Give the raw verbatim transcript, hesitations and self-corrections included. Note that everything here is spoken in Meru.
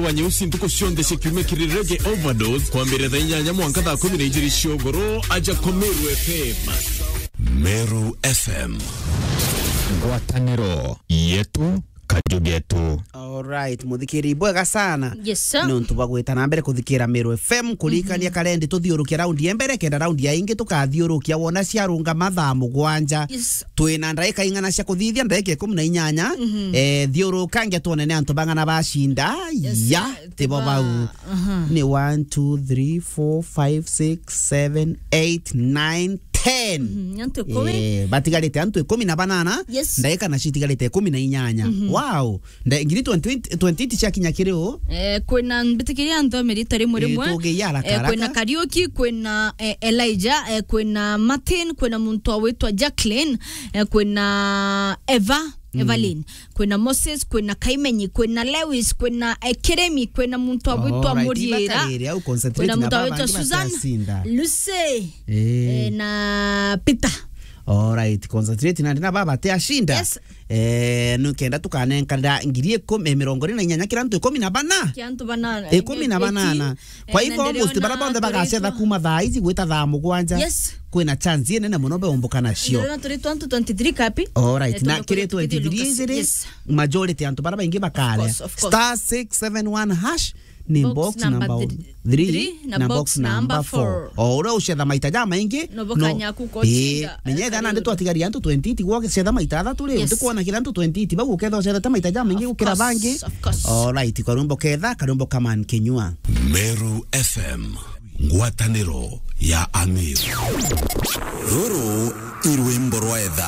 wa nyeusi ntuku cionthe cia kiumia kiri Reggae Overdose, kwambiriria thaa inyanya mwanka thaa kumi na ijiri cia ugoro, aja kwa Meru F M. Meru F M. Ngwataniro yetu, kaju getu. Alright, muthikiri bwega sana. Yes, sir. Nontu bwa gwita na mbere kuthikira Meru F M, kurikania karendi tuthiurukia raundi ya mbere, kenda raundi ya ingi tukathiurukia wona ciarunga mathaa mugwanja. Yes. Twina ndaika ing'ana cia kuthithia, ndaika ikumi na inyanya. Mhm. Eh, thiurukangia twone ni antu bang'ana bacinda. Yes, ya, sir. Tibo bau. Aha. Ni one, two, three, four, five, six, seven, eight, nine, ten. Mhm, antu ikumi. Eh, batigarite antu ikumi na banana. Yes. Ndaika na citigarite ikumi na inyanya. Mhm. Wow. Nda-, ngiri twenty, twenty eight ciakinya kiri u? Eh, kwina mbitikiria antu a mirita rimwe rimwe. Eh, tugiia haraka, eh, kwina haraka. Kariuki, kwina, eh, Elijah, eh, kwina Martin, kwina muntu awitwa Jacqueline, eh, kwina Eva, mm. Evelyn, kwina Moses, kwina Kaimenyi, kwina Lewis, kwina, eh, Kiremi, kwina muntu awitwa Muriira, kwina muntu awitwa Susan, Lucy, eh, na Peter. Alright, concentrate nandi na baba te ashinda. Yes. Eh, nukenda tukanenkanira ngiri ikumi, eh, mirongo iri na inyanya kira antu ikumi na bana. Kira antu bana, ikumi na banana. Eh, kwa hivyo, almost bara bonthe bagacetha kuma thaa ici gwita thaa mugwanja. Yes. Kwina chance inene muno beumbuka nacio. Ndirona turi twenty twenty-three kapi? Alright, eh, na kiri twenty-three ijiri, yes. Majority antu bara baingi bakarea. Of course, of course. Star six seven one hash. Ni box number three na box number four. O uria ucetha maita jamaingi, no, eh, menya ethira nandi twatigaria antu twenty eight, gwa gicetha maita athatu ri, yes, utikwona kira antu twenty eight, bau uketha ucethete maita jamaingi gukira bangi. Of course, of course. Alright, karwimbo ketha, karwimbo kaman kinyua. Meru F M, ngwataniro ya Amiru. Ruru i rwimbo rwa etha.